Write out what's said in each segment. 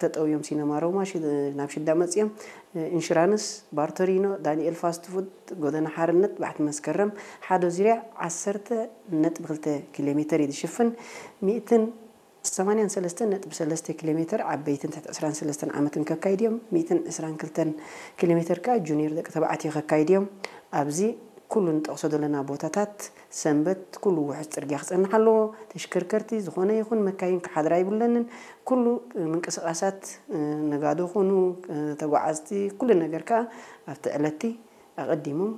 ተጠውዮም፣ ሲነማ ሮማ ናብ ሽዳ መፅዮም፣ ኢንሹራንስ፣ ባርቶሪኖ፣ ዳንኤል ፋስት ፉድ፣ ጎደና ሓርነት፣ ባሕቲ መስከረም ሓደ ዙርያ ዓሰርተ ነጥቢ ክልተ ኪሎ ሜተር እዩ ዝሽፍን። ሚእትን ሰማንያን ሰለስተን ነጥቢ ሰለስተ ኪሎ ሜተር ዓበይትን ትሕቲ ዕስራን ሰለስተን ዓመትን ከካይድ እዮም። ሚእትን ዕስራን ክልተን ኪሎ ሜተር ከዓ ጁኒየር ደቂ ተባዕትዮ ከካይድ እዮም። ኣብዚ ኩሉ ንጠቕሶ ዘለና ቦታታት ሰንበት ኩሉ ውሑስ ፅርግያ ክፀንሕ ኣለዎ። ተሽከርከርቲ ዝኾነ ይኹን መካይን ክሓድራ ይብለንን። ኩሉ ምንቅስቓሳት ነጋዶ ኹኑ ተጓዓዝቲ ኩሉ ነገር ከዓ ኣብቲ ዕለቲ ኣቐዲሞም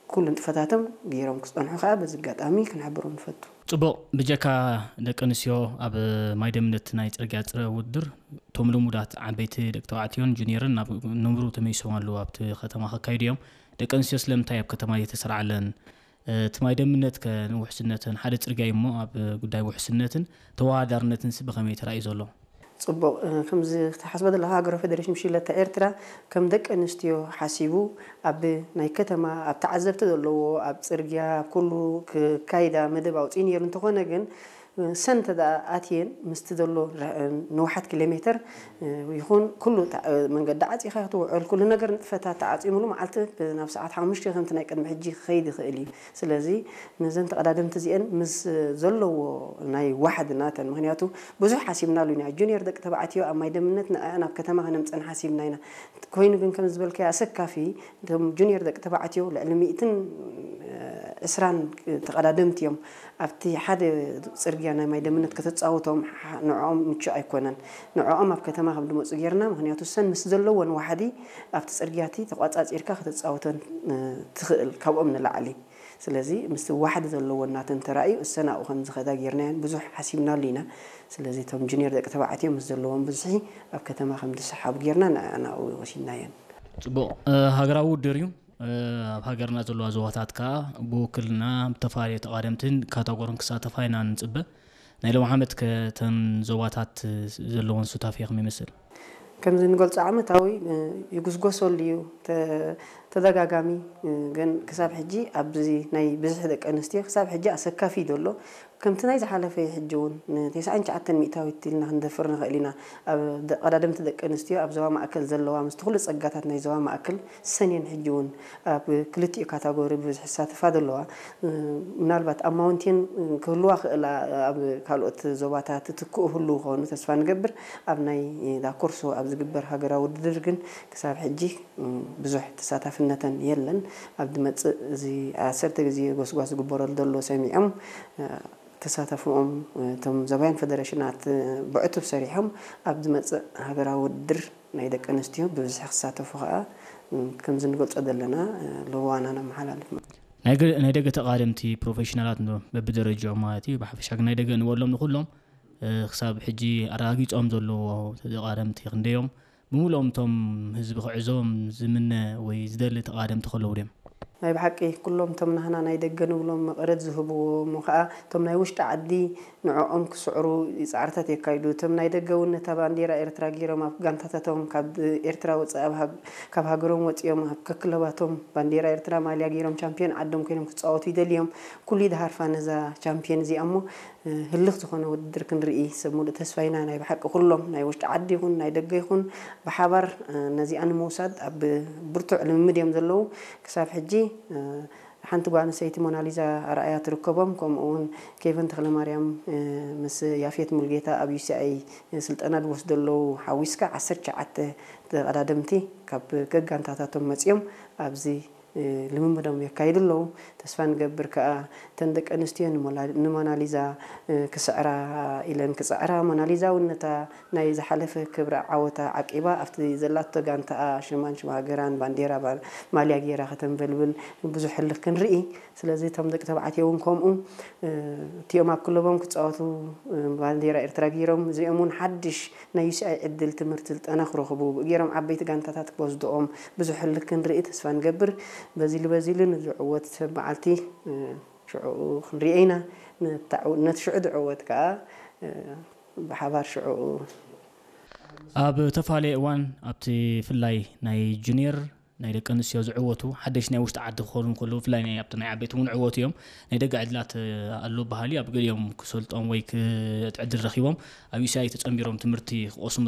ኩሉ ንጥፈታቶም ገይሮም ክፀንሑ ከዓ በዚ ኣጋጣሚ ክንሕብሮም ንፈቱ። ጽቡቕ። ብጀካ ደቂ ኣንስትዮ ኣብ ማይ ደምነት ናይ ጽርግያ ጽረ ውድድር እቶም ልሙዳት ዓበይቲ ደቂ ተባዕትዮን ጁኒየርን ናብ ንቡሩ ተመሊሶም ኣለዉ ኣብቲ ከተማ ከካይዱ እዮም። ደቂ ኣንስትዮ ስለምንታይ ኣብ ከተማ እየተሰርዓለን? እቲ ማይ ደምነት ከ ንውሕስነትን ሓደ ጽርግያ እዩ እሞ ኣብ ጉዳይ ውሕስነትን ተወዳዳርነትንስ ብኸመይ ተራእዩ ዘሎ? ጽቡቕ። ከምዚ ክትሓስቦ ዘለኻ ሃገራዊ ፌደሬሽን ብሽክለታ ኤርትራ ከም ደቂ ኣንስትዮ ሓሲቡ ኣብ ናይ ከተማ ኣብ ተዓዘብቲ ዘለዎ ኣብ ጽርግያ ኣብ ኩሉ ክካይዳ መደብ ኣውፅኡ ነይሩ። እንተኾነ ግን ሰንተ ደኣ ኣትየን ምስቲ ዘሎ ንውሓት ኪሎ ሜተር ይኹን ኩሉ መንገዲ ዓፂኻ ክትውዕል ኩሉ ነገር ንጥፈታት ተዓፂሙሉ መዓልቲ ናብ ሰዓት ሓሙሽተ ከምቲ ናይ ቅድሚ ሕጂ ክኸይድ ይኽእል እዩ። ስለዚ ነዘን ተቐዳደምቲ እዚአን ምስ ዘለዎ ናይ ዋሕዲ ናተን፣ ምኽንያቱ ብዙሕ ሓሲብናሉ ኢና። ጁኒየር ደቂ ተባዕትዮ ኣብ ማይ ደምነት ንኣን ኣብ ከተማ ከነምፀን ሓሲብና ኢና። ኮይኑ ግን ከም ዝበልካዮ ኣሰካፊ እቶም ጁኒየር ደቂ ተባዕትዮ ልዕሊ ሚእትን ዕስራን ተቐዳደምቲ እዮም ኣብቲ ሓደ ጽርግያ ናይ ማይ ደምነት ከተጻውቶም ንዕኦም ምቹእ ኣይኮነን። ንዕኦም ኣብ ከተማ ከም ድመፁ ጌርና፣ ምኽንያቱ ሰን ምስ ዘለዎን ዋሕዲ ኣብቲ ጽርግያቲ ተቋጻጺርካ ከተጻውተን ትኽእል ካብኦም ንላዕሊ። ስለዚ ምስቲ ዋሕዲ ዘለወን ናተን ተራእዩ እሰን ኣብኡ ከም ዝኸዳ ጌርናየን ብዙሕ ሓሲብናሉ ኢና። ስለዚ እቶም ጁኒየር ደቂ ተባዕትዮ ምስ ዘለዎም ብዝሒ ኣብ ከተማ ከም ዝሰሓቡ ጌርና ንዕኡ ወሲድናየን። ጽቡቕ። ሃገራዊ ውድድር እዩ። ኣብ ሃገርና ዘለዋ ዞባታት ከኣ ብውክልና ብተፈላለየ ተቓደምትን ካታጎርን ክሳተፋ ኢና ንጽበ። ናይ ሎም ዓመት ከ እተን ዞባታት ዘለወን ሱታፌ ከመይ ይመስል? ከምዚ ንገልጾ ዓመታዊ ይጉስጎሰሉ እዩ። ተደጋጋሚ ግን ክሳብ ሕጂ ኣብዚ ናይ ብዝሒ ደቂ ኣንስትዮ ክሳብ ሕጂ ኣሰካፊ እዩ ዘሎ። ከምቲ ናይ ዝሓለፈ ሕጂ እውን ንተስዓን ትሽዓተን ሚእታዊት ኢልና ክንደፍር ንኽእል ኢና። ኣብ ቀዳደምቲ ደቂ ኣንስትዮ ኣብ ዞባ ማእከል ዘለዋ ምስቲ ኩሉ ጸጋታት ናይ ዞባ ማእከል ሰኔን ሕጂ እውን ኣብ ክልቲኡ ካታጎሪ ብብዝሒ ዝሳተፋ ዘለዋ። ምናልባት ኣብ ማውንቴን ክህልዋ ክእላ ኣብ ካልኦት ዞባታት ትክኡ ህሉ ክኾኑ ተስፋ ንገብር። ኣብ ናይ ዳኮርሶ ኣብ ዝግበር ሃገራዊ ውድድር ግን ክሳብ ሕጂ ብዙሕ ተሳታፍነተን የለን። ኣብ ዝመጽእ እዚ ዓሰርተ ግዜ ጎስጓስ ዝግበረሉ ዘሎ ሰሚዖም ተሳተፍኦም እቶም ዘባይን ፈደረሽናት ብዕቱብ ሰሪሖም ኣብ ዝመጽእ ሃገራዊ ውድድር ናይ ደቂ ኣንስትዮ ብብዝሒ ክሳተፉ ከኣ ከምዚ ንገልጾ ዘለና ለዋና ነመሓላልፍ። ናይ ገ- ናይ ደገ ተቓደምቲ ፕሮፌሽናላት ዶ በብደረጃኦም ማለት እዩ። ብሓፈሻ ግን ናይ ደገ ንበሎም ንኹሎም ክሳብ ሕጂ ኣረጋጊጾም ዘለዎ ተቓደምቲ ክንደዮም ብምሉኦም እቶም ህዝቢ ክዕዘቦም ዝምነ ወይ ዝደሊ ተቓደምቲ ከለዉ ድዮም? ናይ ብሓቂ ኩሎም እቶም ናህና ናይ ደገ ንብሎም መቐረት ዝህብዎ እሞ ከዓ እቶም ናይ ውሽጢ ዓዲ ንዕኦም ክስዕሩ ፃዕርታት የካይዱ። እቶም ናይ ደገ እውን ነታ ባንዴራ ኤርትራ ገይሮም ኣብ ጋንታታቶም ካብ ኤርትራ ወፃኢ ኣብ ሃግ- ካብ ሃገሮም ወፂኦም ኣብ ከክለባቶም ባንዴራ ኤርትራ ማልያ ገይሮም ቻምፒዮን ዓዶም ኮይኖም ክፃወቱ ይደልዮም። ኩሉ ይድሃርፋ ነዛ ቻምፒዮን እዚኣ እሞ ህልኽ ዝኾነ ውድድር ክንርኢ ሰብ ሙሉእ ተስፋ ኢና። ናይ ብሓቂ ኩሎም ናይ ውሽጢ ዓዲ ይኹን ናይ ደገ ይኹን ብሓባር ነዚኣ ንምውሳድ ኣብ ብርቱዕ ልምምድ እዮም ዘለዉ። ክሳብ ሕጂ ሓንቲ ጓል ኣንስተይቲ ሞናሊዛ ኣርኣያ ትርከቦም። ከምኡ እውን ኬቨን ተኽለማርያም ምስ ያፌት ሙልጌታ ኣብ ዩ ሲ ኣይ ስልጠና ዝወስዱ ኣለዉ። ሓዊስካ ዓሰርተ ትሽዓተ ተቐዳደምቲ ካብ ገጋንታታቶም መፂኦም ኣብዚ ልምምዶም የካይዱ ኣለዉ። ተስፋ ንገብር ከኣ እተን ደቂ ኣንስትዮ ንሞላ- ንሞናሊዛ ክስዕራ ኢለን ክፅዕራ፣ ሞናሊዛ እውን ነታ ናይ ዝሓለፈ ክብረ ዓወታ ዓቂባ ኣብቲ ዘላቶ ጋንታኣ ሽማን ሽም ሃገራን ባንዴራ ባ- ማልያ ገይራ ከተንበልብል ብዙሕ ህልኽ ክንርኢ። ስለዚ እቶም ደቂ ተባዕትዮ እውን ከምኡ እቲኦም ኣብ ክለቦም ክፃወቱ ባንዴራ ኤርትራ ገይሮም እዚኦም እውን ሓድሽ ናይ ዩ ሲ ኣይ ዕድል ትምህርቲ ስልጠና ክረኽቡ ብእገሮም ዓበይቲ ጋንታታት ክወስድኦም ብዙሕ ህልኽ ክንርኢ ተስፋ ንገብር። በዚሉ በዚሉ ንዝዕወት ሰብ መዓልቲ ሽዕኡ ክንሪኦ ኢና። ነቲ ሽዑ ዝዕወት ከዓ ብሓባር ሽዕኡ ኣብ ተፈላለየ እዋን ኣብቲ ፍላይ ናይ ጁኒየር ናይ ደቂ ኣንስትዮ ዝዕወቱ ሓደሽ ናይ ውሽጢ ዓዲ ክኾኑ ከለዉ ብፍላይ ናይ ኣብቲ ናይ ዓበይቲ እውን ዕወቱ እዮም። ናይ ደገ ዕድላት ኣሎ በሃሊ ኣብ ገሊኦም ክሰልጦም ወይ ዕድል ረኺቦም ኣብ ዩሲኣይ ተጸንቢሮም ትምህርቲ ክቐስሙ